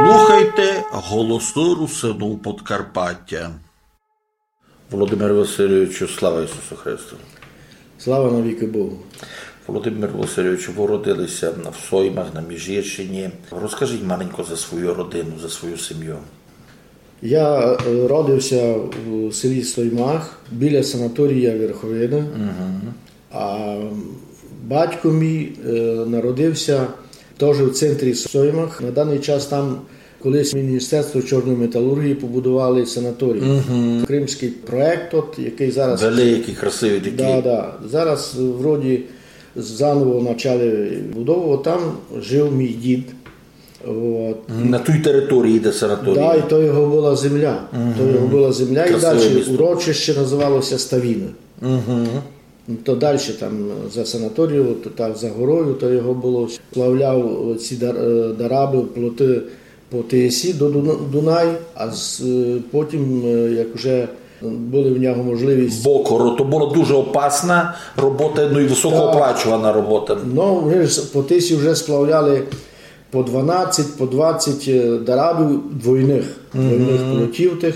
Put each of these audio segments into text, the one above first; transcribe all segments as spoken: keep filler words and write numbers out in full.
Слухайте Голосы Русинув Подкарпатя. Володимир Васильовичу, слава Ісусу Христу! Слава навікы Богу! Володимир Васильович, вы родили ся в Соймах на Міжгірщині. Розкажіть маленько за свою родину, за свою сім'ю. Я е, родив ся у селі Соймах біля санаторія Верховина. А батько мій е, народив ся тоже в центрі Соймах. На даный час там колись Міністерство чорної металургії побудували санаторій. Кримськый проект, от, якый зараз... Великый, красивый такый. Да, да. Зараз вроді заново почали будову. Там жив мій дід. От. На тій території, де санаторій. Да, і то його была земля. То його была земля, і далі урочище називало ся Ставіна. То далі там за санаторієм, то так за горою, то його было, сплавляв ці дар- е, дарабы, плоты по Тисі до Дуна- Дунай, а з, е, потім, е, як вже были в нього можливість... Бо коро- то была дуже опасна робота, ну і высокооплачувана робота. Ну, вони ж по Тисі вже сплавляли по дванадцять, по двадцять е, дарабів двойных, двойных плотів тых.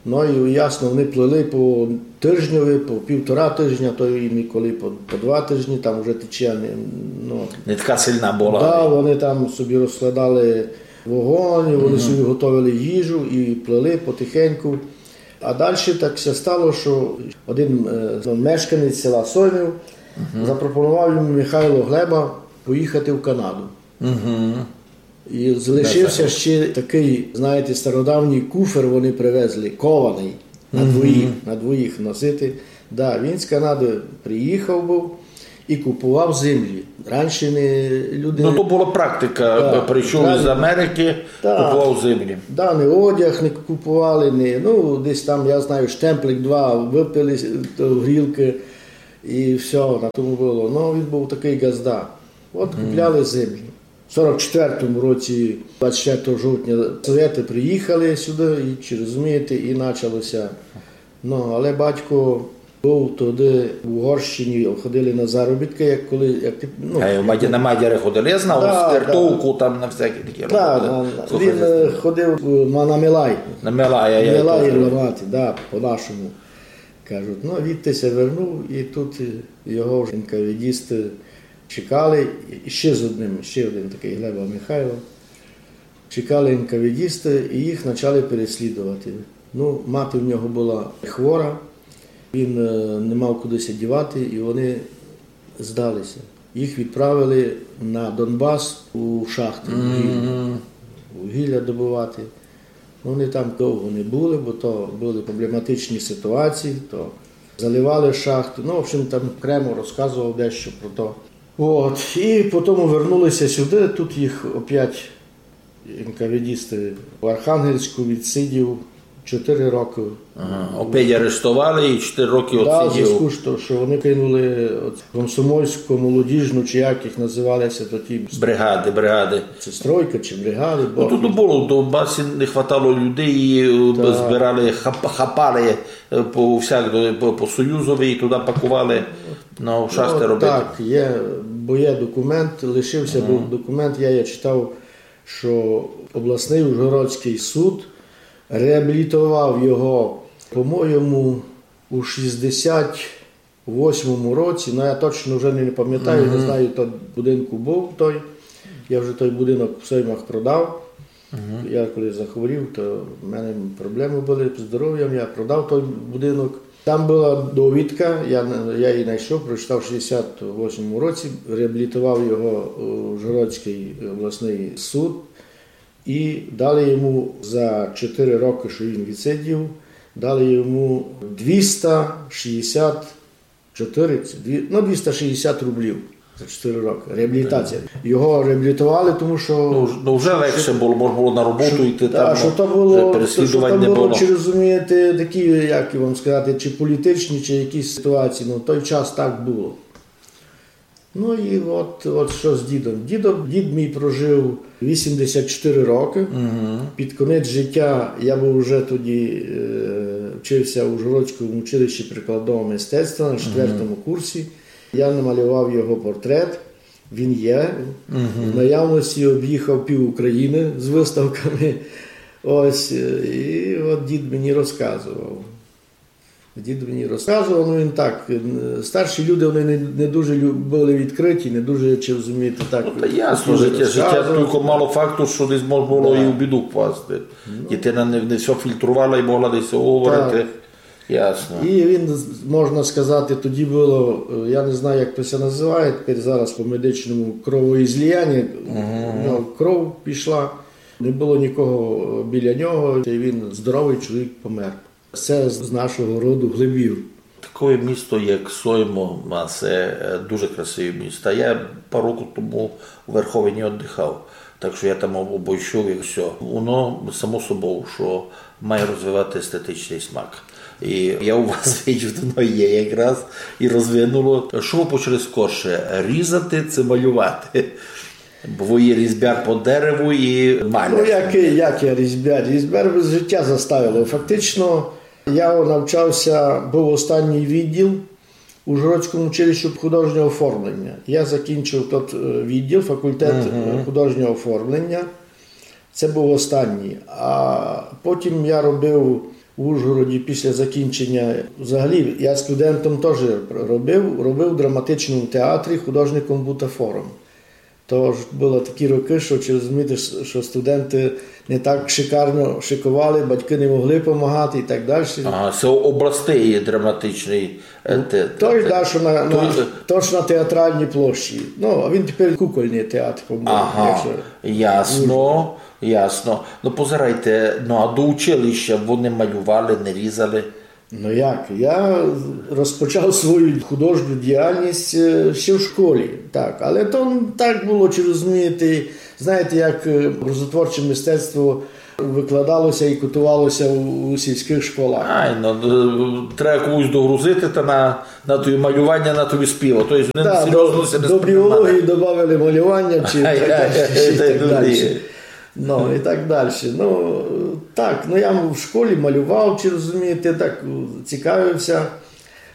Ну і ясно, вони плыли по тыжньови, по півтора тыжня, то і інколи по, по два тыжні, там вже течія не, ну... Не така сильна была. Да, вони там собі розкладали вогонь, вони собі готовили їжу і плыли потихеньку. А далі так ся стало, що один е, мешканець села Соймів запропонував йому, Михайло Глеба, поїхати в Канаду. І залишив ся ще такый, знаєте, стародавній куфер вони привезли, кованый, на двоїх, на двоїх носити. Да, він з Канады приїхав быв і купував землі. Раніше не люди... Ну, то была практика, прийшов із Америки, купував землі. Да, не одяг не купували, не, ну, десь там, я знаю, штемплик два выпили, то грілкы, і всьо, на тому было. Ну, він быв такый ґазда. От купляли землі. В сорок четвертому році, двадцять четвертого жовтня, совєты приїхали сюды, і, чи розумієте, і начало ся. Ну, але батько быв тогды в Угорщині, ходили на заробіткы, як коли, як ти, ну... А на мадяры ходили, я знав, да, з Тертовку, там на всякі такі роботы. Да, він е, ходив е, на, на мелай. На мелай, я... Мелай ламати, да, по-нашому. Кажуть, ну, відти ся вернув, і тут е, його вже НКВДісты чекали, і ще з одним, ще один такый Глеба Михайло. Чекали НКВДісты і їх почали переслідувати. Ну, мати в нього была хвора, він е, не мав куды ся дівати, і вони здали ся. Їх відправили на Донбас у шахты вугілля. Вугілля добывати. Ну, вони там довго не были, бо то были проблематичні ситуації, то заливали шахты. Ну, в общем, там окремо розказував дещо про то. От. І потім вернули ся сюды, тут їх опять НКВДісты в Архангельську, відсидів чотири рокы. Ага. Опять арештовали і чотири рокы відсидів. Да, в звязку з тим, що вони кинули от комсомольську, молодіжну, чи як їх називали ся тоді. Бригады, бригады. Чи стройка, чи бригады. Ну, тут было, в Донбасі не хватало людей, і е, збирали, хап- хапали е, по всяк, по, по Союзови і туды пакували на шахты робити. Так, є, бо є документ, лишив ся быв документ, я, я читав, що обласный Ужгородськый суд реабілітовав його, по-моєму, у шістдесят восьмому році, ну, я точно вже не, не памятаю, не знаю, то будинку быв той. Я вже той будинок в Соймах продав. Я коли захворів, то в мене проблемы были з здоров'ям, я продав той будинок. Там была довідка, я, я її знайшов, прочитав в шістдесят восьмому році, реабілітовав його е, Ужгородськый обласный суд. І дали йому за чотири рокы, що він відсидів, дали йому двіста шістдесят чотири, це дві- ну, двіста шістдесят рублів за чотири рокы. Реабілітація. Його реабілітовали, тому що... Ну, вже легше было, можна было на роботу йти, там, що то вже было, переслідувань не было. Чи розумієте, такі, як вам сказати, чи політичні, чи якісь ситуації, ну, в той час так было. Ну і от, от що з дідом. Дідом, дід мій прожив вісімдесят чотири рокы. Під конець життя я быв вже тоді, е, вчив ся в Ужгородському училищі прикладного мистецтва на четвертому курсі. Я намалював його портрет. Він є. В наявності об'їхав пів України з виставками. Ось, е, і от дід мені розказував. Дід мені розказував, ну, він так, е, старші люди, вони не, не дуже лю-, були відкриті, не дуже, чи розумієте, так. Ну, та ясно, життя, життя тільки мало факту, що десь можна було і в біду впасти. Дитина не, не все фільтрувала і могла десь говорити. Ясно. І він, можна сказати, тоді було, е, я не знаю, як то ся називає, тепер зараз по медичному кровоізліяння, ну, кров пішла, не було нікого, е, біля нього, і він, здоровий чоловік, помер. Це з, з нашого роду Глибів. Таке місто, як Соймо, а це, е, дуже красиве місто. Я пару років тому у Верховині віддихав, так що я там об-, обійшов і все. Воно само собою, що має розвивати естетичний смак. І я у вас видів, воно є якраз і розвинуло. Що ви почали скорше, різати чи малювати? Бо ви є різьбяр по дереву і маляр. Ну, як, як я різьбяр? Різьбяр життя заставило. Фактично, я навчався, був останній відділ у Ужгородському училищі художнього оформлення. Я закінчив тот, е, відділ, факультет, е, художнього оформлення. Це був останній. А потім я робив в Ужгороді після закінчення. Взагалі, я студентом теж робив, робив в драматичному театрі художником бутафором. Тож були такі роки, що, чи розумієте, що студенти не так шикарно шиковали, батьки не могли помагати і так далі. Ага, це областей драматичний, е, те-, Той, те-, да, що на, на, той- то, що на театральній площі. Ну, а він тепер кукольний театр, по-моєму. Ага, Якщо ясно, ясно. Ну, позирайте, ну, а до училища вони малювали, не різали? Ну як, я розпочав свою художню діяльність, е, ще в школі, так. Але то так було, чи розумієте, знаєте, як, е, образотворче мистецтво викладалося і кутувалося у, у сільських школах. Ай, ну, д-, треба комусь догрузити, та на, на тобі малювання, на тобі співа. Тобто вони Да, серйозно до, ся не до сприймали. Біології додавали малювання чи Ай, так ай, далі, ай, і так ай, далі. ай. Ну, і так далі. Ну, так, ну я в школі малював, чи розумієте, так, цікавився.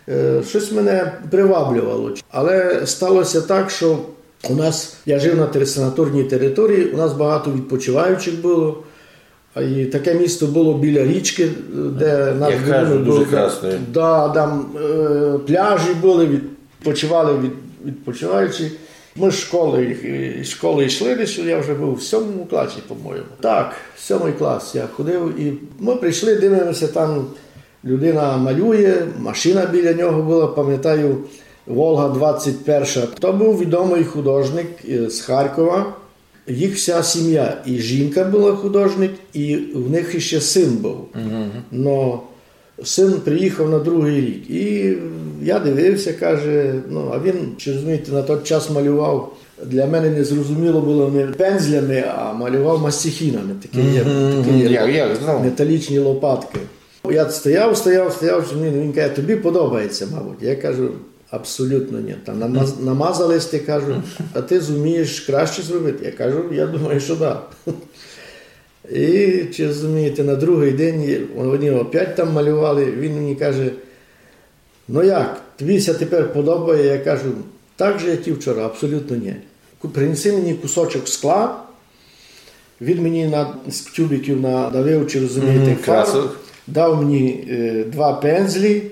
Е, щось мене приваблювало. Але сталося так, що у нас, я жив на тер-, санаторній території, у нас багато відпочиваючих було. А і таке місто було біля річки, де наш Як будинок кажуть, був. дуже красне. Да, там, е, пляжі були, відпочивали від, відпочиваючі. Ми з школи, з школи йшли десь, я вже був в сьомому класі, по-моєму. Так, сьомий клас я ходив, і ми прийшли, дивимося, там людина малює, машина біля нього була, пам'ятаю, Волга двадцять перша. То був відомий художник, е, з Харкова. Їх вся сім'я, і жінка була художник, і в них ще син був. Но син приїхав на другий рік. І я дивився, каже, ну, а він, чи розумієте, на той час малював. Для мене незрозуміло було не пензлями, а малював мастихінами. Такі є, такі є Я, я знав. Металічні лопатки. Я стояв, стояв, стояв, що він, він каже: «Тобі подобається, мабуть». Я кажу: «Абсолютно ні. Там намаз-, намазали сьте», кажу, «а ти зумієш краще зробити?» Я кажу: «Я думаю, що да». І, чи розумієте, на другий день вони опять там малювали, він мені каже: «Ну як, тобі ся тепер подобає?» Я кажу: «Так же, як і вчора, абсолютно ні. Ку-, принеси мені кусочок скла». Він мені на, з тюбиків надавив, чи розумієте, фарб, дав мені, е, два пензлі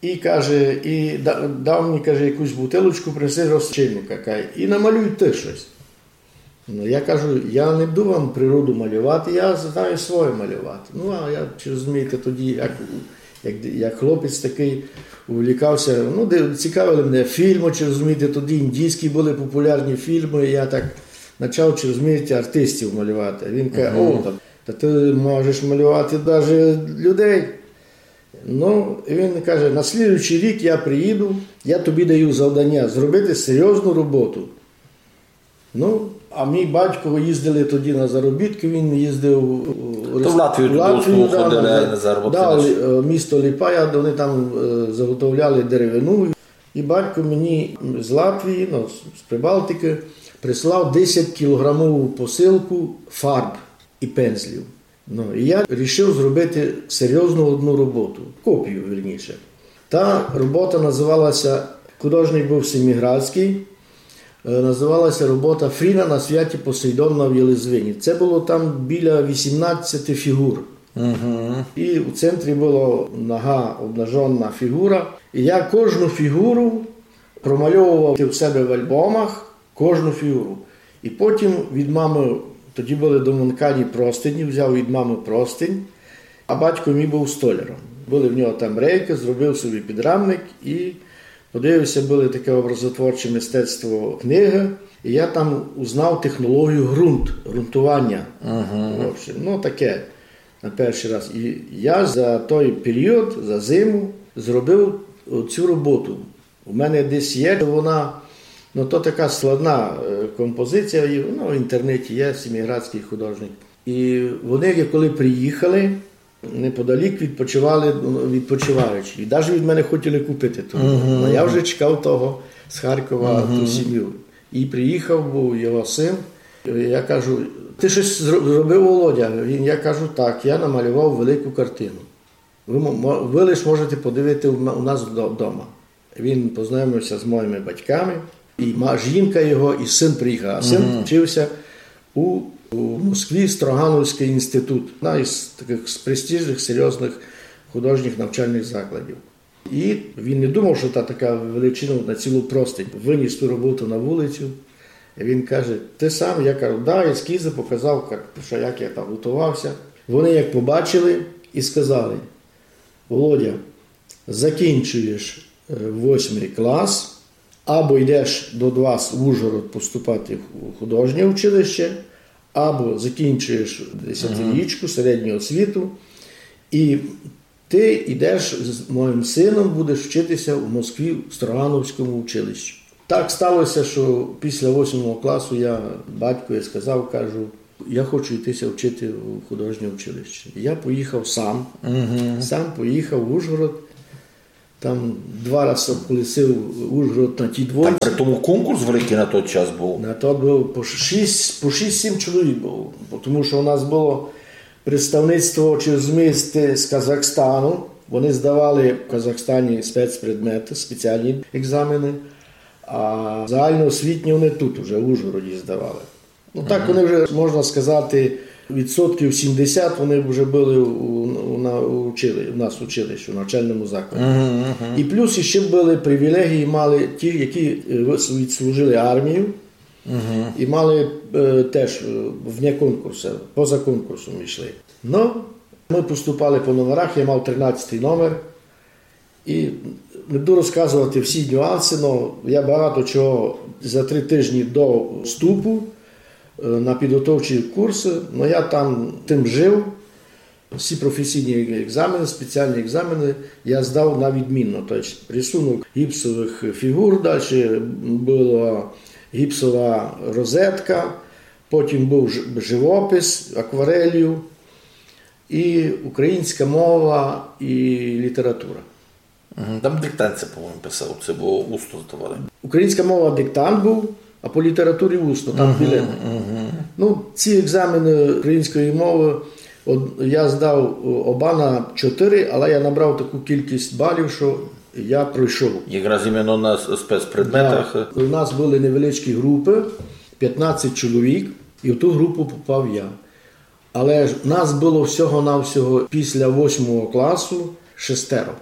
і каже, і да-, дав мені, каже, якусь бутилочку, принеси розчинника, каже, і намалюй ти щось. Ну, я кажу: «Я не буду вам природу малювати, я знаю своє малювати». Ну, а я, чи розумієте, тоді, як, як, як хлопець такий, увлікався, ну, де, цікавили мене фільми, чи розумієте, тоді індійські були популярні фільми, і я так почав, чи розумієте, артистів малювати. Він каже: «О, та, та ти можеш малювати навіть людей». Ну, і він каже: «На слідуючий рік я приїду, я тобі даю завдання зробити серйозну роботу». Ну, а мій батько, їздили тоді на заробітки, він їздив у То в Латвію туди, у Латвію, да, ходили на заробітки. Да, Лі-, е, місто Ліпая, де вони там, е, заготовляли деревину. І батько мені з Латвії, ну, з, з Прибалтики, прислав десятькілограмову посилку фарб і пензлів. Ну, і я рішив зробити серйозну одну роботу, копію, вірніше. Та робота називалася, художник був Семіградський, Е, називалася робота Фріна на святі Посейдона в Єлизвині. Це було там біля вісімнадцяти фігур. Угу. І у центрі була нога обнажена фігура. І я кожну фігуру промальовував у себе в альбомах, кожну фігуру. І потім від мами, тоді були домонкані простині, взяв від мами простинь, а батько мій був столяром. Були в нього там рейки, зробив собі підрамник і подивився, було таке образотворче мистецтво книги. І я там узнав технологію ґрунт, ґрунтування. Ага. В общем, ну, таке на перший раз. І я за той період, за зиму, зробив цю роботу. У мене десь є вона, ну, то така складна е, композиція, і вона в інтернеті є, Семиградський художник. І вони, як коли приїхали, неподалік відпочивали, ну, відпочиваючи. І навіть від мене хотіли купити ту. Мгм. Ну, я вже чекав того з Харкова, ту сім'ю. І приїхав був його син. Я кажу: «Ти щось зро- зробив, Володя?» Він, я кажу: «Так, я намалював велику картину. Ви, мо- мо- ви лиш можете подивити у м- у нас вдо- вдома». Він познайомився з моїми батьками, і ма- жінка його, і син приїхав. А син вчився у, у Москві, Строгановський інститут, одна із таких з престижних, серйозних художніх навчальних закладів. І він не думав, що та така величина на цілу простинь. Виніс ту роботу на вулицю. І він каже: «Ти сам?» Я кажу: «Да, ескізи показав, ка- що як я там готувався». Вони як побачили і сказали: «Володя, закінчуєш е, восьмий клас, або йдеш до вас в Ужгород поступати в художнє училище, або закінчуєш десятирічку, середню освіту, і ти йдеш з моїм сином, будеш вчитися в Москві в Строгановському училищі». Так сталося, що після восьмого класу я батькові сказав, кажу: «Я хочу йтися вчити в художнє училище». Я поїхав сам, сам поїхав в Ужгород, там два рази обколесив Ужгород на тій двойці. Там при тому конкурс великий на той час був. На то було по шість, по шість-сім чоловік було, бо тому що у нас було представництво, чи розумієте, з Казахстану. Вони здавали в Казахстані спецпредмети, спеціальні екзамени, а загальноосвітні вони тут уже в Ужгороді здавали. Ну так, вони вже, можна сказати, відсотків сімдесят вони вже були у, у, на, у, учили, у нас в училищі, у навчальному закладі. І плюс іще були привілегії, мали ті, які е, вис- відслужили армію і мали е, теж е, вне конкурсу, поза конкурсом йшли. Ну, ми поступали по номерах, я мав тринадцятий номер. І не буду розказувати всі нюанси, але я багато чого за три тижні до вступу е, на підготовчі курси, але я там тим жив. Всі професійні екзамени, спеціальні екзамени я здав на відмінно. Тобто рисунок гіпсових фігур, далі була гіпсова розетка, потім був ж- живопис акварелью і українська мова і література. Мгм. Там диктант, по-моєму, писав, це було усно здавали. Українська мова диктант був, а по літературі усно, там білети. Ну, ці екзамени української мови от, я здав о, оба на чотири, але я набрав таку кількість балів, що я пройшов. Якраз іменно на с- спецпредметах. Да. У нас були невеличкі групи, п'ятнадцять чоловік, і в ту групу попав я. Але ж нас було всього-навсього після восьмого класу шестеро.